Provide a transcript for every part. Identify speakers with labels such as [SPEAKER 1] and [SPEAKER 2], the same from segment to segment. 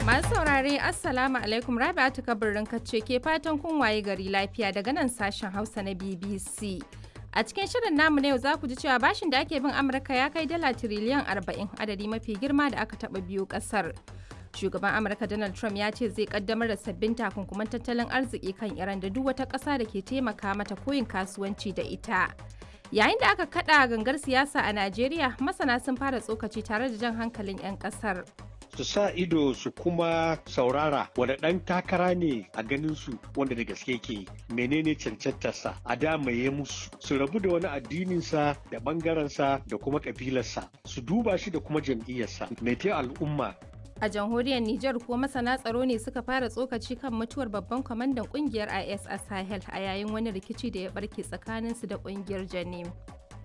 [SPEAKER 1] Masu saurare, Assalamu alaikum. Rabi'atu Kabirin Kacce ke fatan kun waye gari lafiya daga nan sashen Hausa na BBC. A cikin shirin namu na yau za ku ji cewa bashin da ake bin Amurka ya kai dala tiriliyan 40, adadi mafi girma da aka taɓa biyo ƙasar. Shugaban Amurka Donald Trump ya ce zai kaddamar da sabbin takunkuman tattalin arziki kan Iran da duk wata ƙasa da ke taimaka mata koyin kasuwanci da ita. Yayin da aka kada gangar siyasa a Najeriya, masana sun fara tsokaci tare da jan hankalin 'yan ƙasar.
[SPEAKER 2] Su sa ido su kuma saurara wanda ɗan takara ne a ganin su wanda da gaske ke menene cancantarsa a da ya musu, su rabu da wani addininsa da ɓangarensa da kuma ƙabilarsa, su duba shi da kuma jam'iyyarsa mai ta al'umma.
[SPEAKER 1] A jamhuriyar Nijar ko masana tsaro ne suka fara tsokaci kan mutuwar babban kwamandan kungiyar IS a Sahel a yayin wani rikici da ya barke tsakaninsu da kungiyar Janim.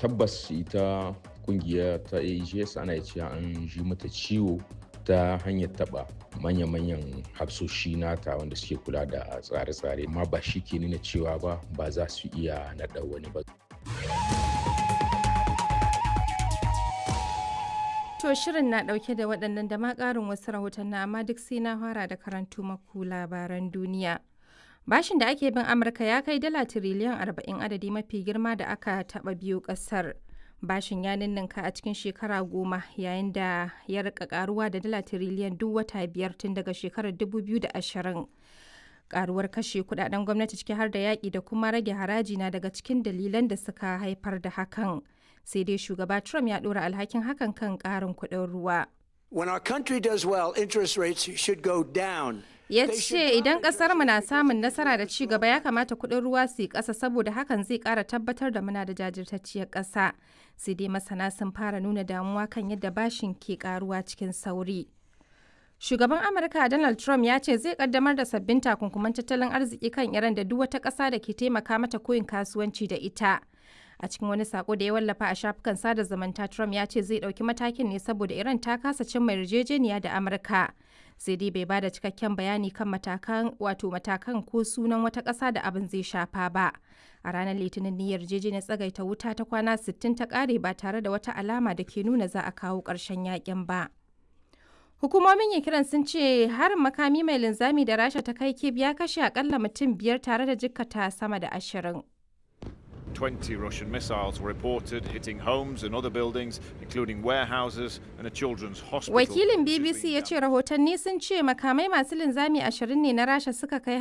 [SPEAKER 3] Tabbas, ita kungiya ta AEGS ana cewa an ji mata ciwo ta hanyar taba manya-manyan hafsoshi nata wanda suke kula da tsare-tsare, amma ba shi ke nuna cewa ba ba za su iya naɗa wani ba.
[SPEAKER 1] To, shirin na ɗauke da waɗannan da ma ƙarin wasu rahotanni, amma duk sai na fara da karantu maku labaran duniya. Bashin da ake bin Amurka ya kai dala tiriliyan 40, adadi mafi girma da aka taɓa biyo ƙasar. Bashin ya ninninka a cikin shekara 10, yayin da ya rika karuwa da dala tiriliyan duk wata 5 tun daga shekarar 2020. Karuwar kashe kudaden gwamnati, ciki har da yaƙi da kuma rage haraji, na daga cikin dalilan da suka haifar da hakan. Sai dai shugaba Trump ya ɗora alhakin hakan kan ƙarin kuɗin ruwa.
[SPEAKER 4] When our country does well, interest rates should go down.
[SPEAKER 1] Ya ce idan kasar mu na samun nasara da ci gaba, ya kamata kuɗin ruwa su yi ƙasa, saboda hakan zai ƙara tabbatar da muna da jajirtacciyar ƙasa. Sai dai masana sun fara nuna damuwa kan yadda bashin ke ƙaruwa cikin sauri. Shugaban Amurka Donald Trump ya ce zai kaddamar da sabbin takunkuman tattalin arziki kan Iran da duk wata ƙasa da ke taimaka mata koyin kasuwanci da ita. A cikin wani sako da ya wallafa a shafukan sada zumunta, Trump ya ce zai ɗauki matakin ne saboda Iran ta kasa cimma yarjejeniya da Amurka. Sai dai bai bada cikakken bayani kan matakan, wato matakan, ko sunan wata ƙasa da abin zai shafa ba. A ranar Litinin ne yarjejeniyar tsagaita wuta ta kwana 60 ta ƙare ba tare da wata alama da ke nuna za a kawo ƙarshen yakin ba. Hukumomin Ukraine sun ce harin makami mai linzami da Rasha ta kai Kyiv ya kashe akalla mutum 5 tare da jikkata sama da 20.
[SPEAKER 5] 20 Russian missiles were reported hitting homes and other buildings, including warehouses and a children's hospital.
[SPEAKER 1] Wakilin BBC ya ce rahotanni sun ce makamai masu linzami 20 ne na Rasha suka kai.